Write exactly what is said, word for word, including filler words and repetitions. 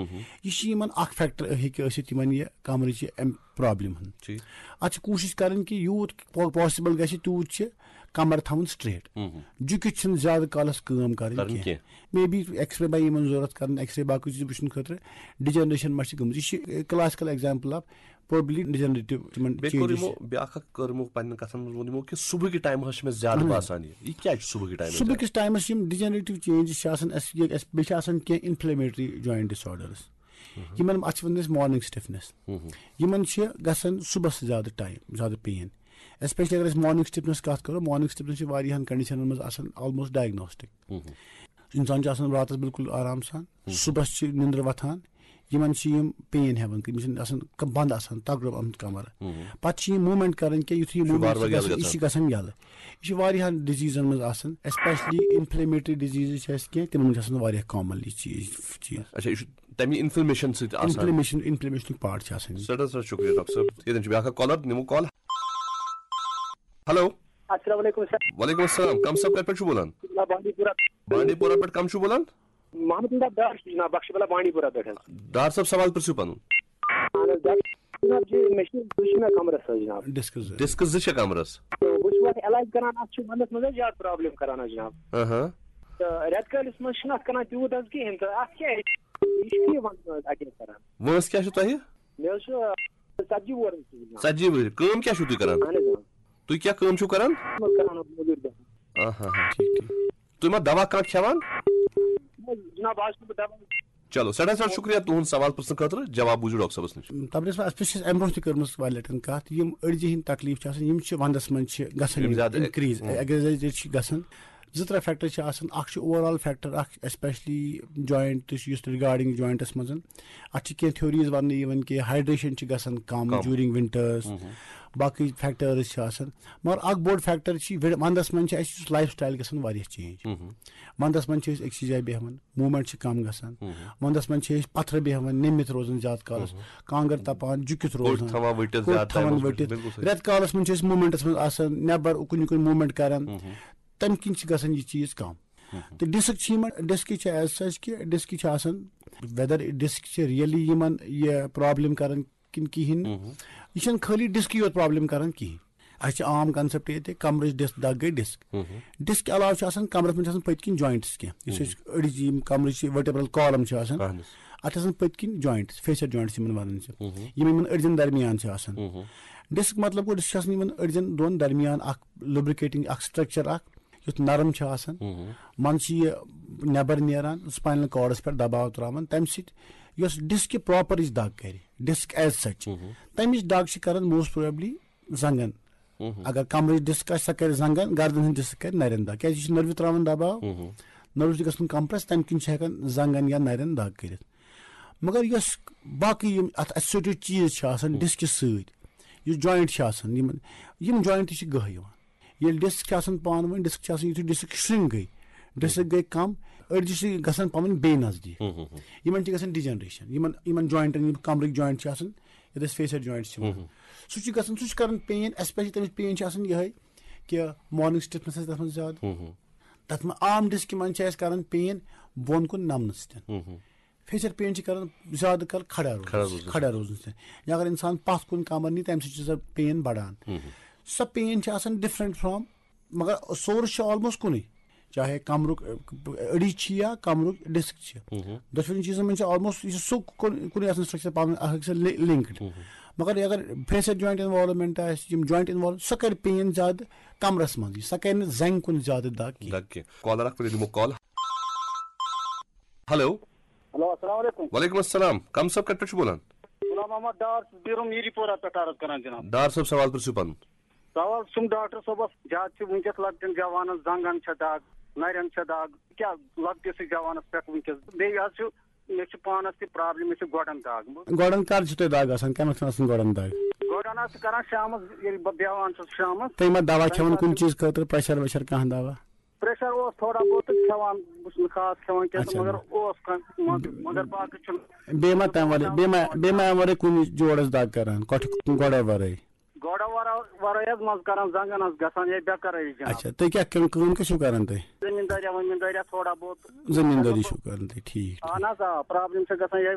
ہُم۔ یہِ چھِ یِمن اکھ فیکٹر ہیٚکہِ ٲسِتھ یِمن یہِ کمرٕچ یہِ امہِ پرابلم ہُنٛد۔ ٹھیٖک۔ اتھ چھِ کوٗشش کرٕنۍ کہِ یوٗت پا-، پاسبل گژھِ تیوٗت چھِ کمر تھاوُن سٹریٹ۔ ہُم۔ جُکِتھ چھِنہٕ زیادٕ کالس کٲم کرٕنۍ کرٕنۍ کینٛہہ۔ کینٛہہ۔ مے بی ایکس رے ما یِمن ضروٗرت کرٕنۍ، ایکس رے باقٕے چیٖز وٕچھنہٕ خٲطرٕ ڈیجنریشن ما چھِ گٔمٕژ۔ یہِ چھِ کلاسیکل ایگزامپل آف پرابلی ڈیجنریٹو تِمن بیٚیہِ کوٚر چینجز۔ یِمو بیٛاکھ اکھ کٔر یِمو پننٮ۪ن کتھن منٛز ووٚن یِمو کہِ صبحٕکہِ ٹایمہٕ حظ چھِ مےٚ زیادٕ اہن حظ۔ باسان یہِ۔ یہِ کیٛازِ چھُ صبحٕکہِ ٹایمہٕ صبح زیادٕ؟ کِس ٹایمس یِم ڈیجنریٹو چینجز چھِ آسان، اَسہِ یہِ، اَسہِ، بیٚیہِ چھِ آسان کینٛہہ انفلیمیٹری جوینٹ ڈس آرڈرس۔ یِمن، اتھ چھِ ونان أسۍ مارننگ سٹفنس۔ یِمن چھِ گژھان صبحس زیادٕ ٹایم، زیادٕ پین۔ اسپیشلی اگر أسۍ مارننگ سٹفنس کتھ کرو، مارننگ سٹفنس چھِ واریاہن کنڈیشنن منٛز آسان آلموسٹ ڈائگنوسٹک۔ انسان چھُ آسان راتس بالکل آرام سان، صبحس چھِ نِندرٕ وۄتھان، یِمن چھِ یِم پین ہٮ۪وان، یِم چھِنہٕ آسان ک-، بنٛد آسان، تگڑٕ آمُت کمر۔ پتہٕ چھِ یِم موٗمینٹ کران کینٛہہ، یُتھُے یہِ یہِ چھُ موٗمینٹ وارٕ چھِ وارٕ یَلہٕ گژھان، یہِ چھُ گژھان۔ گژھان یَلہٕ۔ یہِ چھُ واریاہن ڈِزیٖزن منٛز آسان، اسپیشلی انفلیمیٹری ڈِزیٖزز چھِ اَسہِ کینٛہہ، تِمن منٛز چھِ آسان واریاہ کامنلی چیٖز، چیٖز۔ اچھا، یہِ چھُ تَمہِ انفلیمیشن سۭتۍ آسان۔ انفلیمیشن، انفلیمیشنُک پارٹ چھُ آسان یہِ۔ سٮ۪ٹھاہ سٮ۪ٹھاہ شُکریہ ڈاکٹر صٲب۔ ییٚتٮ۪ن چھُ بیٛاکھ اکھ کالر، نِمو کال۔ ہیلو۔ السلام علیکم سر۔ وعلیکم السلام، کم صٲب، کتہِ پٮ۪ٹھ چھُو بولان؟ بانڈی پورہ۔ بانڈی پورہ پٮ۪ٹھ کم چھُو بولان؟ محمد امداد ڈار چھُس جناب، بخش بلا بانڈی پورہ پٮ۪ٹھ حظ۔ ڈار صٲب، سوال پرژھِو پنُن۔ اہن حظ، ڈاکٹر جناب جی، مےٚ چھِ، بہٕ چھُس مےٚ کمرَس حظ جناب۔ ڈسک زٕ۔ ڈسک زٕ چھےٚ کمرَس۔ تہٕ بہٕ چھُس اَتھ علاج کران، اَتھ چھُ ونٛدَس منٛز حظ زیادٕ پرابلم کران حظ جناب۔ اہاں۔ تہٕ رٮ۪تہٕ کٲلِس منٛز چھُنہٕ اَتھ کران تیوٗت حظ کِہیٖنۍ، تہٕ اَتھ کیٛاہ ہیٚکہِ، یہِ چھُ یہِ ونٛدَس منٛز اَٹیک کران۔ وٲنٛس کیٛاہ چھُ تۄہہِ؟ مےٚ حظ چھُ ژتجی وُہُر حظ چھُس جناب۔ ژتجی وُہُر۔ کٲم کیٛاہ چھُو تُہۍ کران؟ اہن حظ، آ۔ تُہۍ کیٛاہ کٲم چھُو کران؟ بہٕ حظ کران حظ مٔزوٗرۍ کران۔ آہا، ٹھیٖک، ٹھیٖک۔ تُہۍ ما دوا کانٛہہ کھٮ۪وان؟ نہ، جناب، آز چھُس نہٕ بہٕ دوا۔ چلو، سٮ۪ٹھاہ سٮ۪ٹھاہ شُکریہ تُہُنٛد سوال پرٛژھنہٕ خٲطرٕ۔ جواب بوٗزِو ڈاکٹر صٲبَس نِش۔ تبریز صٲب، اَسہِ پٮ۪ٹھ چھِ اَسہِ اَمہِ برونٛہہ تہِ کٔرمٕژ واریاہ لَٹہِ کَتھ، یِم أڈجہِ ہِنٛدۍ تکلیٖف چھِ آسان، یِم چھِ وَندَس منٛز چھِ گژھان یِم یِم زیادٕ increase، ہُم۔ ایگزیجریٹ چھِ گژھان۔ زٕ ترٛےٚ فیکٹر چھِ آسان، اَکھ چھُ اوور آل فیکٹر اَکھ، اسپیشلی جوینٹ تہٕ یُس رِگارڈِنٛگ جوینٹَس منٛز۔ اَتھ چھِ کینٛہہ تھیوریٖز وَننہٕ یِوان کہِ ہایڈریشن چھِ گژھان کَم کَم۔ ڈیوٗرِنٛگ وِنٹٲرٕس، ہُم۔ باقٕے فیکٹٲرٕس چھِ آسان۔ مگر اکھ بوٚڑ فیکٹر چھِ وِنڈ-، ونٛدس منٛز چھِ اَسہِ یُس لایف سٹایل گژھان واریاہ چینج۔ ہُم۔ ونٛدس منٛز چھِ أسۍ أکسٕے جایہِ بیٚہوان، موٗمینٹ چھِ کم گژھان۔ ہُم۔ ونٛدس منٛز چھِ أسۍ پتھرٕ بیٚہوان، نٔمِتھ روزان زیادٕ کالس، ہُم۔ کانٛگر تپان، جُکِتھ کوٚٹ روزان، تھاوان ؤٹِتھ کوٚٹ زیادٕ تھاوان ٹایمس ؤٹِتھ۔ پٮ۪ٹھ، بِلکُل صحیح۔ رٮ۪تہٕ کالس منٛز چھِ أسۍ موٗمینٹس منٛز آسان، نٮ۪بر اُکُن یِکُن موٗمینٹ کران۔ ہُم۔ تمہِ کِنۍ چھِ گژھان یہِ چیٖز کم۔ ہُم۔ تہٕ ڈسک چھِ یِمن، ڈسکہِ چھِ ایز سچ کہِ ڈسکہِ چھِ آسان، ویدر ڈسک چھِ ریئلی یِمن یہِ پرابلم کران کِنہٕ کِہیٖنۍ نہٕ۔ مہم۔ یہِ چھَنہٕ خٲلی ڈسکٕے یوت پرابلم کران کِہیٖنۍ۔ اَسہِ چھِ عام کانسیپٹ ییٚتہِ، کمرٕچ ڈسک، دگ گٔے ڈسک۔ مہم۔ ڈسک علاوٕ چھِ آسان، کمرس منٛز چھِ آسان پٔتۍ کِنۍ جوینٹس کینٛہہ۔ یُس مہم۔ أسۍ أڈِج یِم کمرٕچ یہِ ورٹیبرل کالم چھِ آسان، اہن حظ۔ اَتھ چھِ آسان پٔتۍ کِنۍ جوینٹس، فیشل جوینٹس یِمن وَنان چھِ۔ مہم۔ یِم یِمن أڈجن درمیان چھِ آسان۔ مہم۔ ڈسک مطلب گوٚو، ڈسک چھِ آسان یِمن أڈجن دۄن درمیان اکھ لوبریکیٹنگ اکھ سٹرکچر اکھ، یُتھ نرم چھُ آسان۔ مہم۔ منٛزٕ چھِ یہِ نٮ۪بر نیران، سپاینل کارڈس پٮ۪ٹھ دباو تراوان، تمہِ سۭتۍ یۄس ڈسک پراپر یُس دگ کرِ، ڈسک ایز سچ، مہم۔ تمِچ دگ چھِ کران موسٹ پروبیبلی زنٛگن۔ مہم۔ اگر کمرٕچ ڈسک آسہِ، سۄ کرِ زنٛگن، گردن ہٕنٛز ڈسک کرِ نرٮ۪ن دگ، کیازِ یہِ چھُ نٔروِ تراوان دباو، مہم۔ نٔروٕ چھِ گژھان کمپریس، تمہِ کِنۍ چھِ ہٮ۪کان زنٛگن یا نرٮ۪ن دگ کٔرِتھ۔ مگر یۄس باقٕے یِم اتھ ایسوسیٹڈ چیٖز چھِ آسان، مہم۔ ڈسکہِ سۭتۍ، یُس جوینٹ چھِ آسان، یِمن، یِم جوینٹ تہِ چھِ گٔہہ یِوان۔ ییٚلہِ ڈسک چھِ آسان پانہٕ ؤنۍ، ڈسک چھِ آسان، یُتھُے ڈسک شرنک گٔے، ڈسک گٔے کم، أڈجہِ چھِ گژھان پانہٕ ؤنۍ بیٚیہِ نزدیٖک۔ ہُم، ہُم، ہُم۔ یِمن چھِ گژھان ڈیجنریشن، یِمن، یِمن جوینٹن، یِم کمرٕکۍ جوینٹ چھِ آسان، یتھ أسۍ فیشل جوینٹ چھِ وَنان۔ ہُم، ہُم۔ سُہ چھُ گژھان، سُہ چھُ کران پین، اسپیشلی تَمِچ پین چھِ آسان یِہے کہِ مارننگ سٹفنس آسہِ تَتھ منٛز زیادٕ۔ ہُم، ہُم۔ تَتھ منٛز عام ڈسکہِ منٛز چھِ اَسہِ کران پین بۄن کُن نمنہٕ سۭتۍ۔ ہُم، ہُم۔ فیشل پین چھِ کران زیادٕ کر کھڑا روزنہٕ کھڑا سۭتۍ، روزنہٕ کھڑا سۭتۍ۔ روزنہٕ سۭتۍ۔ یا اگر انسان پتھ کُن کمر نی، تَمہِ سۭتۍ چھِ سۄ پین بڑان۔ ہُم، ہُم۔ سۄ پین چھِ آسان ڈفرنٹ فرام، مگر سورس چھُ آلموسٹ کُنُے، چاہے کمرُک، ٲ، أڈِج چھِ یا کمرُک ڈسک چھِ۔ ہُم، ہُم۔ دۄشوٕنی چیٖزن منٛز چھِ آلموسٹ، یہِ چھُ سُہ کُن-، کُنُے آسان سٹرکچر پانہٕ ؤنۍ اکھ أکِس سۭتۍ لِ-، لنکڈ۔ ہُم، ہُم۔ مگر اگر فیشل جوینٹ انوالومنٹ آسہِ، یِم جوینٹ انوالو، سۄ کرِ پین زیادٕ کمرس منٛز، سۄ کرِ نہٕ زنٛگہِ کُن زیادٕ دگ کینٛہہ۔ دگ کینٛہہ۔ کالر اکھ، پتہٕ دِمو کال۔ ہیلو۔ ہیلو، السلام علیکم۔ وعلیکم السلام۔ کم صٲب، کتہِ پٮ۪ٹھ چھُ بولان؟ غلام محمد ڈار، بیرم میری پورہ پٮ۪ٹھ عرض کران جناب۔ ڈار صٲب، سوال پرژھِو پنُن۔ سوال چھُم ڈاکٹر صٲبس، زیادٕ چھِ وٕنکیٚس لۄکٹٮ۪ن جوانن زنٛگن چھےٚ دگ، نرٮ۪ن چھےٚ دگ، کیٛاہ لۄکٹِسٕے جوانس پٮ۪ٹھ وٕنکیٚس؟ بیٚیہِ حظ چھُ، مےٚ چھِ پانس تہِ پرابلم، مےٚ چھِ گۄڈن دگ۔ گۄڈن کر چھِ تۄہہِ دگ آسان؟ کمہِ وقتہٕ چھِ آسان گۄڈن دگ؟ گۄڈن حظ چھِ کران شامس، ییٚلہِ بہٕ بیٚہوان چھُس شامس۔ تُہۍ ما دوا کھٮ۪وان کُنہِ چیٖزٕ خٲطرٕ، پریشر ویشر کانٛہہ دوا؟ پریشر اوس تھوڑا بہت کھٮ۪وان، بہٕ چھُس نہٕ خاص کھٮ۪وان کینٛہہ، اچھا۔ مگر اوس کانٛہہ، مگر، مگر باقٕے چھُنہٕ۔ بیٚیہِ ما تَمہِ ورٲے، بیٚیہِ ما، بیٚیہِ ما اَمہِ ورٲے کُنہِ جوڑس دگ کران، کۄٹھِ گۄڈو ورٲے؟ گۄڈو ورا-، ورٲے حظ منٛزٕ کران زنٛگن حظ گژھان یِہے بے قرٲری جناب۔ اچھا، تُہۍ کیٛاہ کٲم، کٲم کیٛاہ چھِو کران تُہۍ؟ زٔمیٖندٲریا، ؤمیٖندٲریا تھوڑا بہت۔ زٔمیٖندٲری چھِو کران تُہۍ، ٹھیٖک، ٹھیٖک۔ اہن حظ، آ، پرابلم چھِ گژھان یِہے